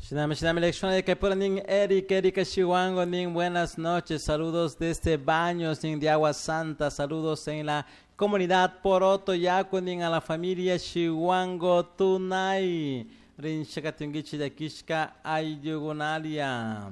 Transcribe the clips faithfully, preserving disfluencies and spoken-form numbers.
Shinami, shinami, lección de que nin Eric, Erika Chihuango, nin buenas noches, saludos desde Baños, nin de Agua Santa, saludos en la comunidad Poroto Yaku, nin a la familia Chihuango Tunay, Rinchakatungichi de Kishka Ayugunalia.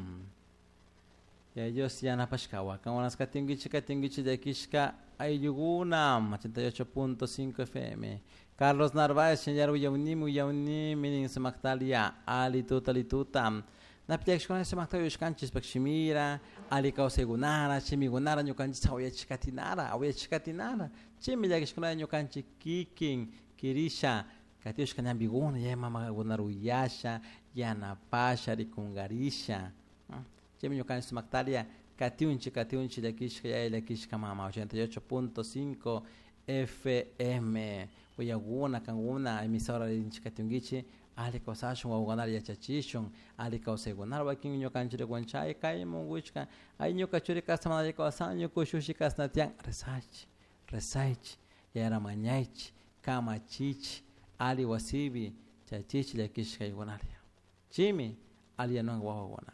Y ellos ya napashkawa, kawanas katungichi katungichi de Kishka Ayuguna, ochenta y ocho punto cinco F M. Carlos Narváez, señor Uyaunimi, Uyaunimi, nin Samactalia, Ali Tuta, Ali Tuta. Napiaxcona Samactalia, Ushkanchis, Pakshimira, Ali Kausegunara, Chimigunara, Ñukanchis, Auyachikatinara, Auyachikatinara, Chimillaxcona, Ñukanchi, Kikin, Kirisha, Katiushka Ñambiguna, Yamama Gunaruyasha, Yanapasha, Rikungarisha. Chimi Ñukanchis Samactalia, Katiunchi, Katiunchi, Yakishka, Yakishka, Mama, ochenta y ocho punto cinco F M. Uyaguna, kanguna, emisora de Inchikatungichi, ali kausashun, wawagunar yachachishun, ali kausegunar, wakin ñukanchiri guanchay, kay munguchka, ay ñukachuri kastamana kausan, ñukushushi kasnatian, rezaichi, rezaichi, yaramañaichi, kamachichi, ali wasibi, chachichi, yakishka yugunaria. Chimi, ali yanuan wawaguna.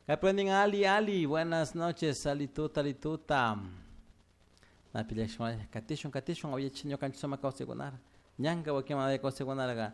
Kaprendin ali, ali, buenas noches, ali tuta, ali tuta. Napilashma katishun katishun oye ñukanchik sumak kawsaykunara ñanka wakin mana kawsaykunaraqa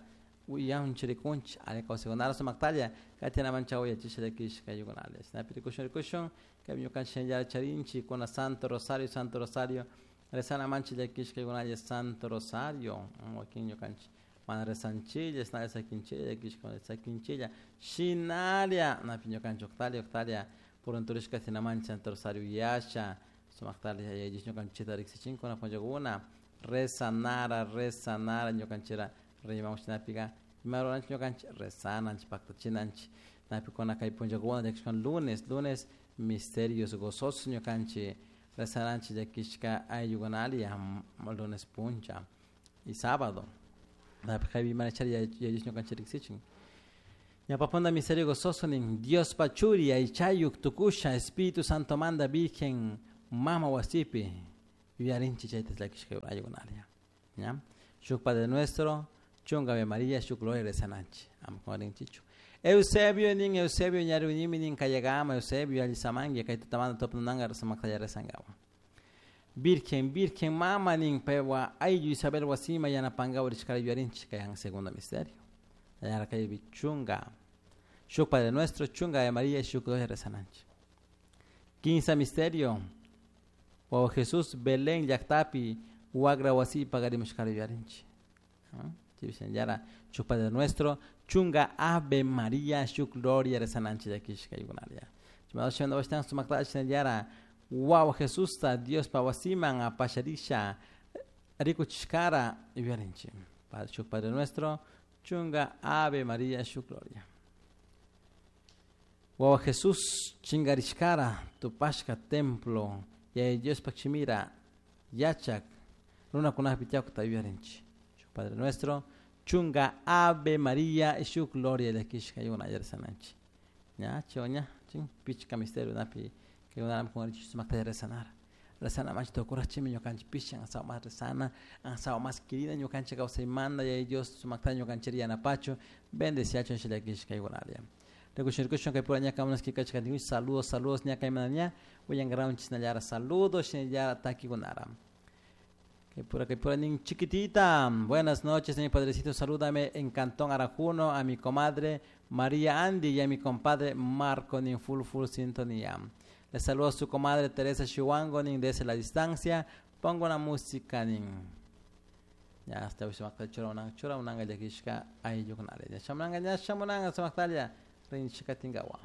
uyan chirikunchik ali kawsaykunara sumaktalla katinamancha uyachisha llakishka yukunalla shinapi rikushun rikushun kay ñukanchik yara charinchik kuna Santo Rosario Santo Rosario rezana mancha llakishka yukunalla Santo Rosario wakin ñukanchik mana rezanchilla shinalla sakinchilla llakishka sakinchilla shinalla napi ñukanchik uqtalla uqtalla purunturishka katinamancha Santo Rosario yasha sumaktalla yayaychik ñukanchikta riksichinkuna punllakuna rezanara rezanara ñukanchira rimamush shinapica ima ruranchik ñukanchik rezananchik paktachinanchik napikuna kay punllakuna llakishkuna lunes lunes misterios gozosos ñukanchik rezananchik llakishka ayllukunalla lunes puncha y sábado napi kaypi manachari yayaychik ñukanchik riksichin ñawpapunda misterio gozoso nin Dios pachuri aychayuk tukusha Espíritu Santo manda Virgen Mama wasipi yuyarinchik chayta llakishka ayukunaria ña shuk Padre Nuestro chunga Ave María shuk Gloria rezananchik ama kungarinchichu Eusebio nin Eusebio ñarunimi nin kayagama Eusebio allisamanki kay tutamanta tupnananka sumaktalla rezankawa Virgen Virgen Mama nin paywa ayllu Isabel wasima yanapankawa rishkara yuyarinchik kay segundo misterio yara kaypi chunga shuk Padre Nuestro chunga Ave María shuk Gloria rezananchik quince misterio Wawa Jesús Belén llaktapi wagra wasi pagarimushkara yuyarinchik chibishan yara shuk Padre Nuestro chunga Ave María shuk Gloria rezananchik llakishka yukunaria chimadoshan washtan sumaktalla yara Wawa Jesusta Dios pa wasiman apasharisha rikuchishkara yuyarinchik shuk Padre Nuestro chunga Ave María shuk Gloria Wawa Jesús chingarishkara tupashka templo yaya Dios pakchimira yachak runakunapi tiyakta yuyarinchik shuk Padre Nuestro chunga Ave María shuk Gloria llakishka yukuna rezananchik ña chiwa ña chin pichka misterio napi kaykunarami kungarinchik sumakta rezanara rezana mancha tukurachimi ñukanchik pishan asawa mas rezana asawa mas querida ñukanchik kawsaymanta yaya Dios sumakta ñukanchik yanapachu bendeciachun llakishka yukunaria Rikushun rikushun kay pura ñaka unas kikachka saludos saludos ñaka imana ña uyangraunchis nallara saludos shinallara takikunara kay pura kay pura nin chiquitita buenas noches mi padrecito salúdame en Cantón Arajuno a mi comadre María Andy y a mi compadre Marco nin full full sintonía le saludo a su comadre Teresa Chihuango nin desde la distancia pongo una música nin ya hasta hoy se me chura una chura una llakishka ayllukunare ya shamunanga ya shamunanga sumaktalla rinchikatingawa.